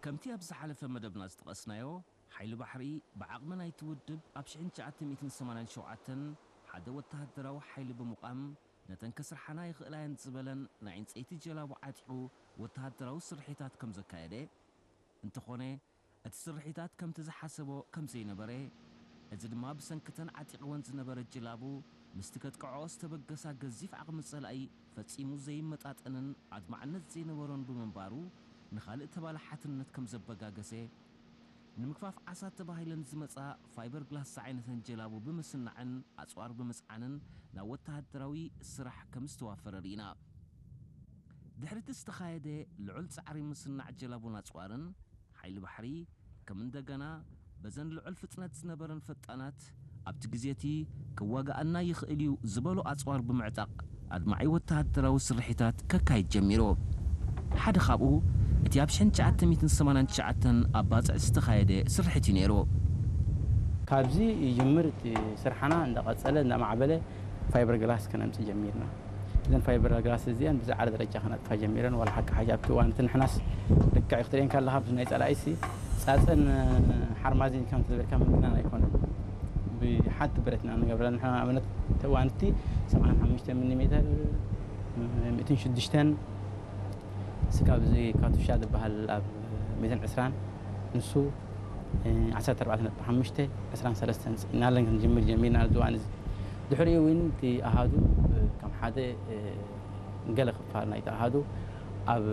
ከምቲ ኣብ ዝሓለፈ መደብና ዝጠቐስናዮ፣ ሓይሊ ባሕሪ ብዓቕሚ ናይቲ ውድብ ኣብ ሽሕን ትሽዓተ ሚእትን ሰማንያን ሸውዓተን ሓደ ወተሃደራዊ ሓይሊ ብምቋም፣ ነተን ከስርሓና ይኽእላ እየን ዝበለን ናይ ዕንጸይቲ ጀላቡ ዓጢቑ ወተሃደራዊ ስርሒታት ከም ዘካየደ፣ እንተኾነ እቲ ስርሒታት ከምቲ ዝሓሰቦ ከም ዘይነበረ፣ እዚ ድማ ብሰንክተን ዓጢቕወን ዝነበረ ጀላቡ ምስቲ ከጥቅዖ ዝተበገሳ ገዚፍ ዓቕሚ ጸላኢ ፈጺሙ ዘይመጣጠንን ኣድማዕነት ዘይነበሮን ብምንባሩ፣ ንኻልእ ተባላሓትነት ከም ዘበጋገሰ፣ ንምግፋፍ ዓሳ ተባሂለን ዝመጻ ፋይበር ግላስ ዝዓይነተን ጀላቡ ብምስናዕን ኣጽዋር ብምጽዓንን ናብ ወተሃደራዊ ስራሕ ከም ዝተዋፈረ ርኢና። ድሕሪ እቲ ዝተኻየደ ልዑል ጻዕሪ ምስናዕ ጀላቡን ኣጽዋርን፣ ሓይሊ ባሕሪ ከም እንደገና በዘን ልዑል ፍጥነት ዝነበረን ፈጣናት ኣብቲ ግዜ እቲ ክዋጋኣና ይኽእል እዩ ዝበሎ ኣጽዋር ብምዕጣቕ ኣድማዒ ወተሃደራዊ ስርሒታት ከካይድ ጀሚሩ። ሓደ ካብኡ እቲ ኣብ ሽሕን ትሽዓተ ሚእትን ሰማንያን ትሽዓተን ኣብ ባጽዕ ዝተኻየደ ስርሒት እዩ ነይሩ። ካብዚ ይጅምር እቲ ስርሓና እንዳቐጸለ እንዳማዕበለ ፋይበር ግላስ ከነምጽእ ጀሚርና። እዘን ፋይበር ግላስ እዚአን ብዝዓለ ደረጃ ከነጥፋ ጀሚረን። ዋላ ሓቂ ሓቂ ኣብቲ እዋን እቲ ንሕናስ ልክዕ ክትርእየን ከለኻ ኣብዚ ናይ ጸላኢሲ ጻጸን ሓርማዝን ከም ዝበልካ ምግናን ኣይኮነን። ብሓንቲ ብረትና ንገብረን። ንሕና ኣብነት እቲ እዋን እቲ ሰብዓን ሓሙሽተ ሚሊ ሜተር፣ ሚእትን ሽዱሽተን፣ ስጋብ እዚ ካቱሻ ዝበሃል ኣብ ሚእትን ዕስራን፣ ንሱ ዓሰርተ ኣርባዕተ ነጥቢ ሓሙሽተ፣ ዕስራን ሰለስተን ጽዒናለን ክንጅምር ጀሚርና ኣብዚ እዋን እዚ። ድሕሪኡ እውን እቲ ኣሃዱ ከም ሓደ ገለ ክፋል ናይቲ ኣሃዱ ኣብ